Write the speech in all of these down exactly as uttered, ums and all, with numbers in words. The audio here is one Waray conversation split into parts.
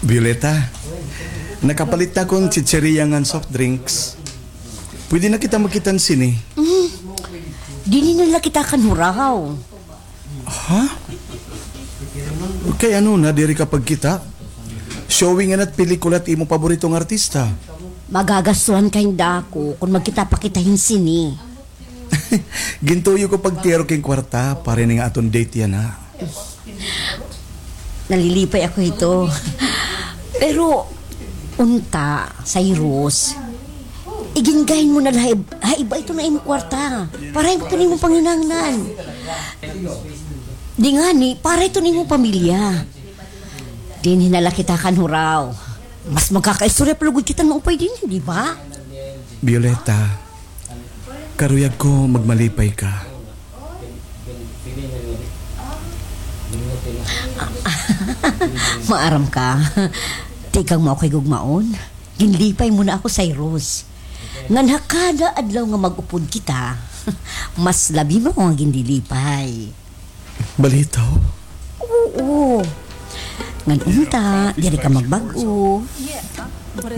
Violeta, nakapalit na ako hin chicheria ngan soft drinks. Pwede na kita magkita hin sine. Dinhi na la kita kan huraw. Ha? Kay ano na diri ka pagkita? Showing ngani it pelikula hit imo paborito nga artista. Magagastuhan ka hin dako kon magkita pa kita hin sine. Gintuyo ko pagtiyaro king kwarta para ini nga aton date yana. Nalilipay ako hito. Pero, unta, Cyrus, igingahin mo na la ha ib-, ha iba iton imo kwarta. Para iton imo panginahanglan. Di ngani, para iton imo pamilya. Dinhi na la kita kan huraw. Mas magkakaistorya pa lugod kita maupay dinhi, di ba? Violeta, karuyag ko magmalipay ka. Maaram ka. Tikang mo ako higugmaon. Ginlipay mo na ako, Cyrus. Ngan ha kada adlaw nga mag-upod kita, mas labi mo ako nga ginlilipay. Balitaw? Oo. Ngan unta, diri ka magbag-o.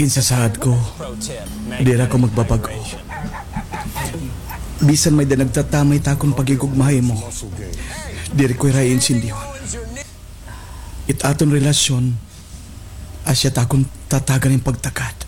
Ginsasaad ko, diri ako magbabag-o. Bisan may-ada nagtatamay ha akon paghigugma ha imo, diri ko hira iintindihan. It aton relasyon, asya it akon tatagan hin pagtagad.